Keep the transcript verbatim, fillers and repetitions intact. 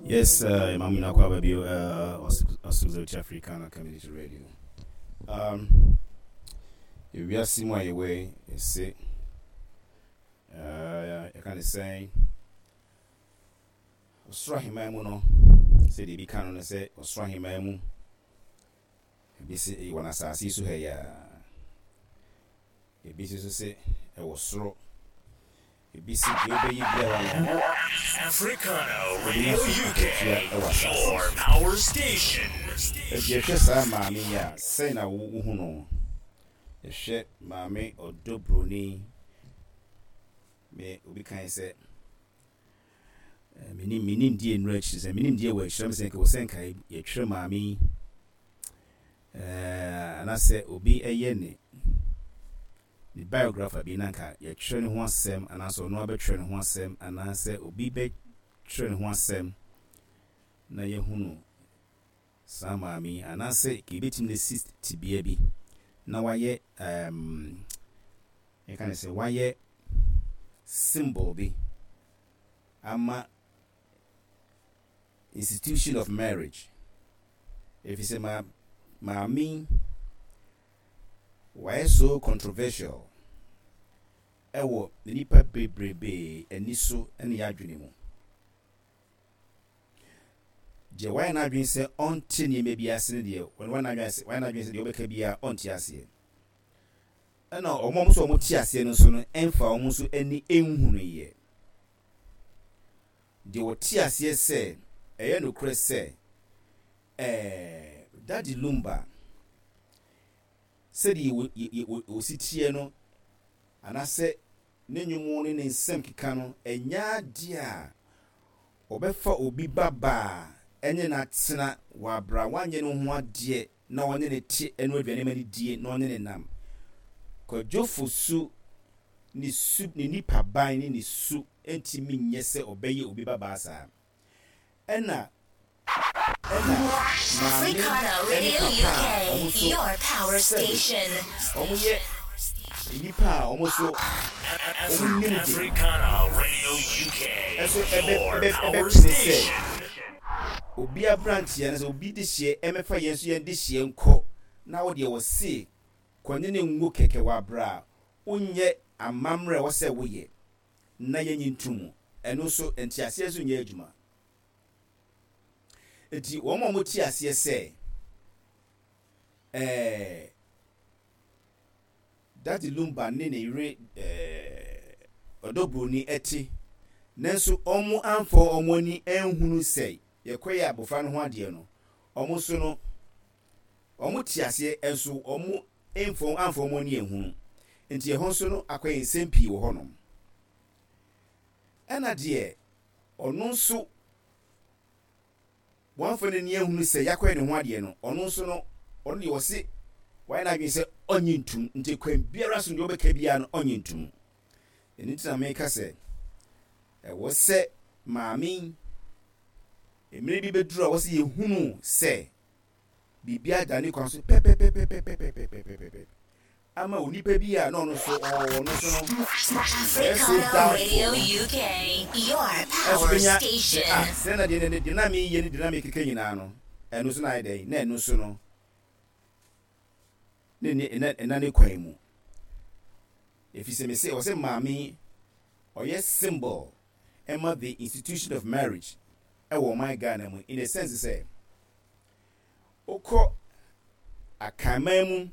Yes, uh, Mamu Nakwa Bio, uh, Osumzochi Africana Community Radio. Um, ewiase mu a yɛwɔ yi, yɛse, uh, yɛka ne sɛn, ɔsoro ahemman mu no, sɛdeɛ ebi ka no no sɛ ɔsoro ahemman mu, ebi se ɛwɔ n'asase yi so ha yi a, ebi nso sɛ ɛwɔ soro, ebi se deɛ wobɛyɛ biara no, Africana Radio U K, your power station. Ɛdi yɛhwɛ saa maame yi a, sɛn na wohu no? Yɛhwɛ Maame Ɔdɔ Broni. Me obi kan sɛ menim menim die nnura akyiri sɛ menim die wɔ akyirɛ m sɛ nka wɔ sɛ nka yɛtwerɛ maame yi ɛɛ anaasɛ obi ɛyɛ ne ne biographer bi na nka yɛtwerɛ ne ho asɛm, anaasɛ ɔno abɛtwerɛ ne ho asɛm, anaasɛ obi bɛtwerɛ ne ho asɛm na yɛhunu saa maame yi, anaasɛ ka yɛbɛtumi no si tibea bi na wayɛ um, yɛka ne sɛ wayɛ symbol bi ama institution of marriage, ɛfiri sɛ ma maame yi wayɛ so controversial ɛwɔ nnipa bebrebee ani so ne yɛ adwene mu. Deɛ wayɛ n'adwene sɛ ɔnte nneɛma bi ase no deɛ, wɔn wayɛ n'adwene sɛ wayɛ n'adwene sɛ deɛ ɔbɛka biara ɔnte aseɛ, ɛna wɔn a nso wɔn te aseɛ no nso no, ɛnfa wɔn nso ani nhunu yɛ. Deɛ wɔte aseɛ sɛ ɛyɛ nokorɛ sɛ ɛɛ Daddy Lumba, sɛdeɛ wɔ wɔsi teɛ no, anaasɛ ne nnwom ne ne nsɛm keka no, ɛnyɛ adeɛ a ɔbɛfa obi ba baa ɛne n'atena wɔ abra wanyɛ ne ho adeɛ na ɔne ne te ɛno aduane ma ne die na ɔne ne nam. Kwadwo Fosu ne su, ne nipa ban ne ne su ntumi nyɛ sɛ ɔbɛyɛ obi ba baa saa. Ɛna ɛna maame Africana ɛne Radio papa a ɔmo U K, nso your power sɛbe station. Ɔmo yɛ nnipa a ɔmo nso ɔmo nim de Africana Radio U K, ɛso ɛbɛ your ɛbɛ power ɛbɛpene sɛ station. Obi aberanteɛ no sɛ obi de hyeɛ ɛmɛfa yɛn nso yɛn de hyeɛ nkɔ na wo deɛ wɔse kɔne ne ngo kɛkɛ wɔ abra a wonyɛ amammerɛ a ɛwɔ sɛ woyɛ na yɛnyi nto mu. Ɛno nso nteaseɛ nso nyɛ adwuma. Nti wɔn a wɔte aseɛ sɛ ɛɛ Daddy Lumba ne ne yere ɛɛ Ɔdɔ Broni ɛte, nanso wɔn amfa wɔn ani nhunu sɛ yɛkɔyɛ abɔfra no ho adeɛ no, wɔn nso no wɔn te aseɛ, nso wɔn mfa amfa wɔn ani nhunu. Nti ɛhɔ nso no akɔyɛ nsɛm pii wɔ hɔnom. Ɛna deɛ ɔno nso wɔamfa n'ani ahunu sɛ yɛakɔyɛ ne ho adeɛ no, ɔno nso no, ɔno deɛ ɔse wayɛ n'adwene sɛ ɔnye ntum. Nti kwan biara so deɛ ɔbɛka biara no, ɔnye ntum. Ɛno nti na meka sɛ ɛwɔ sɛ maame yi, mmerɛ bi bɛduru a wɔsɛ yɛhunu sɛ biribi ada ne kwan so pɛpɛpɛpɛpɛpɛpɛpɛpɛ ama onipa bi a na ɔno nso ɔno nso no ɛyɛ so Africana doubtful Radio no U K, your ɛnso power bɛnya sɛ station. Ah, sɛ na deɛ deɛ na meyɛ ne deɛ na mekeka nyinaa no, ɛno nso na ayɛ dɛn na ɛno nso no ne ne ɛna ɛna ne kwan mu, ɛfiri sɛ mese ɔsɛ maame ɔyɛ symbol ɛma the institution of marriage ɛwɔ ɔman Ghana mu, in a sense sɛ wokɔ Akanman mu.